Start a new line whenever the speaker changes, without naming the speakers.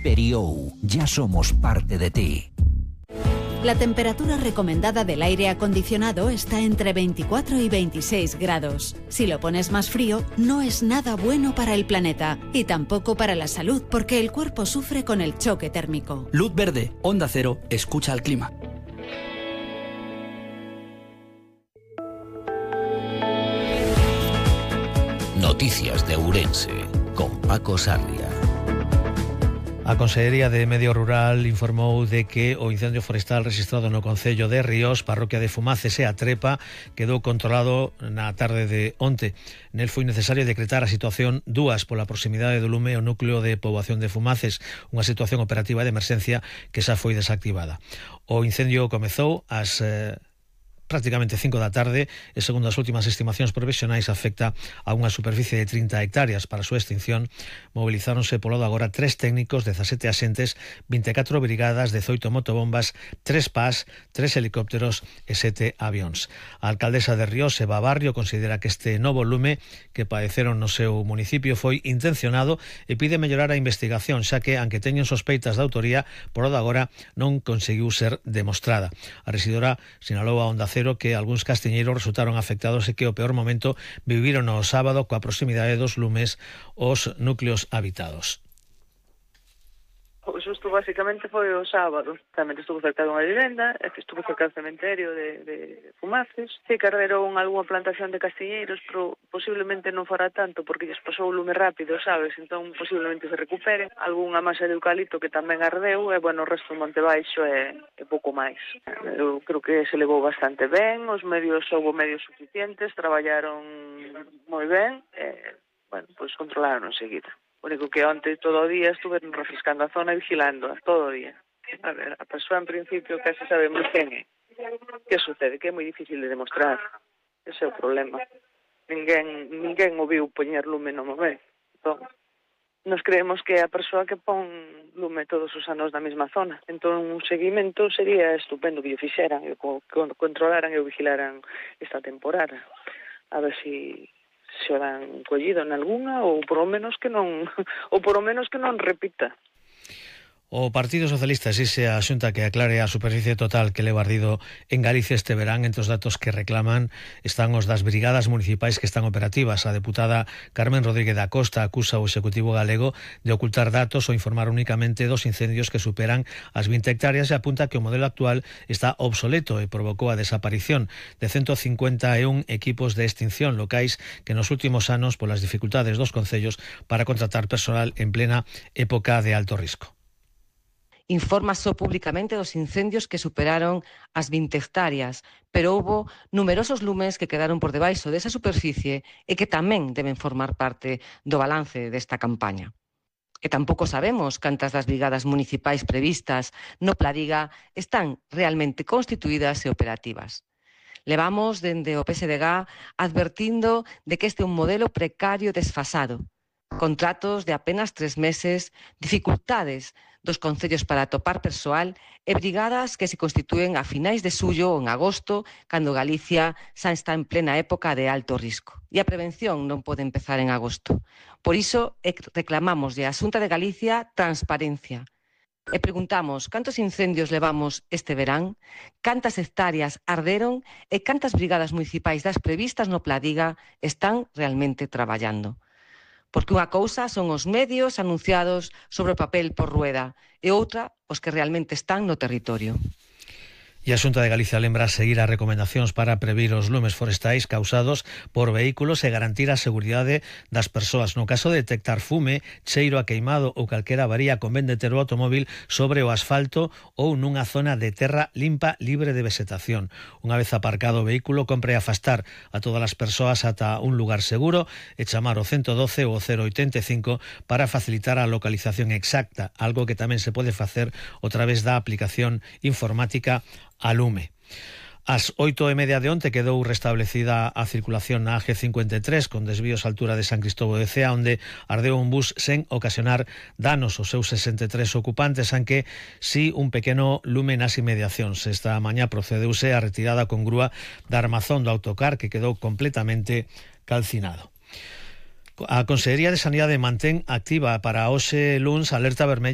Periou, ya somos parte de ti.
La temperatura recomendada del aire acondicionado está entre 24 y 26 grados. Si lo pones más frío, no es nada bueno para el planeta y tampoco para la salud, porque el cuerpo sufre con el choque térmico.
Luz verde, Onda Cero, escucha al clima.
Noticias de Ourense, con Paco Sarria.
A Consellería de Medio Rural informou de que o incendio forestal registrado no concello de Ríos, parroquia de Fumaces e a Trepa, quedou controlado na tarde de onte. Nel foi necesario decretar a situación 2 pola proximidade do lume ao núcleo de poboación de Fumaces, unha situación operativa de emerxencia que xa foi desactivada. O incendio comezou ás prácticamente 5 da tarde e, segundo as últimas estimacións provisionais, afecta a unha superficie de 30 hectáreas. Para a súa extinción movilizáronse polo de agora 3 técnicos, 17 axentes, 24 brigadas, 18 motobombas, 3 PAS, 3 helicópteros e 7 avións. A alcaldesa de Ríos, Eva Barrio, considera que este novo lume que padeceron no seu municipio foi intencionado e pide mellorar a investigación, xa que, aunque teñen sospeitas de autoría, polo de agora non conseguiu ser demostrada. A rexidora sinalou a Onda Cero que algúns castiñeiros resultaron afectados e que o peor momento viviron o sábado coa proximidade dos lumes os núcleos habitados.
O susto basicamente foi o sábado. Tamén estuvo cerca dunha vivenda, estuvo cerca do cementerio de Fumaces. Sí que arderon algunha plantación de castiñeiros, pero posiblemente non fora tanto porque lles pasou o lume rápido, sabes? Entón posiblemente se recuperen. Algúnha masa de eucalipto que tamén ardeu e, bueno, o resto do Monte Baixo é pouco máis. Eu creo que se levou bastante ben, houve medios suficientes, traballaron moi ben e, bueno, pois controlaron enseguida. O único que onte todo o día estuve refrescando a zona e vigilando todo o día. A ver, a persoa en principio casi sabemos quen é. Que sucede? Que é moi difícil de demostrar. Ese é o problema. Ninguén o viu poñer lume no momento. Entón, nos creemos que é a persoa que pon lume todos os anos na mesma zona. Entón, un seguimento sería estupendo que o fixeran, que controlaran e o vigilaran esta temporada. A ver se o dan collido en algunha ou por lo menos que non repita.
O Partido Socialista exixe a Xunta que aclare a superficie total que leva ardido en Galicia este verán. Entre os datos que reclaman están os das brigadas municipais que están operativas. A deputada Carmen Rodríguez da Costa acusa o Executivo galego de ocultar datos ou informar únicamente dos incendios que superan as 20 hectáreas e apunta que o modelo actual está obsoleto e provocou a desaparición de 151 equipos de extinción locais que nos últimos anos, polas dificultades dos concellos para contratar personal en plena época de alto risco.
Informa só públicamente dos incendios que superaron as 20 hectáreas, pero houbo numerosos lumes que quedaron por debaixo desa superficie e que tamén deben formar parte do balance desta campaña. E tampouco sabemos cantas das brigadas municipais previstas no Pladiga están realmente constituídas e operativas. Levamos dende o PSDG advertindo de que este é un modelo precario desfasado, contratos de apenas 3 meses, dificultades dos concellos para atopar persoal e brigadas que se constitúen a finais de xullo ou en agosto, cando Galicia xa está en plena época de alto risco. E a prevención non pode empezar en agosto. Por iso reclamamos a Xunta de Galicia transparencia. E preguntamos cantos incendios levamos este verán, cantas hectáreas arderon e cantas brigadas municipais das previstas no Pladiga están realmente traballando. Porque unha cousa son os medios anunciados sobre o papel por Rueda e outra os que realmente están no territorio.
E a Xunta de Galicia lembra seguir as recomendacións para previr os lumes forestais causados por vehículos e garantir a seguridade das persoas. No caso de detectar fume, cheiro a queimado ou calquera avaría, convén deter o automóbil sobre o asfalto ou nunha zona de terra limpa libre de vegetación. Unha vez aparcado o vehículo, compre afastar a todas as persoas ata un lugar seguro e chamar o 112 ou o 085 para facilitar a localización exacta, algo que tamén se pode facer a través da aplicación informática a Lume. Ás 8:30 de onte quedou restablecida a circulación na AG53 con desvíos á altura de San Cristóbal de Cea, onde ardeu un bus sen ocasionar danos aos seus 63 ocupantes, aunque si un pequeno lume nas inmediacións. Esta mañá procedeuse a retirada con grúa da armazón do autocar que quedou completamente calcinado. A Consellería de Sanidade mantén activa para hoxe luns alerta vermella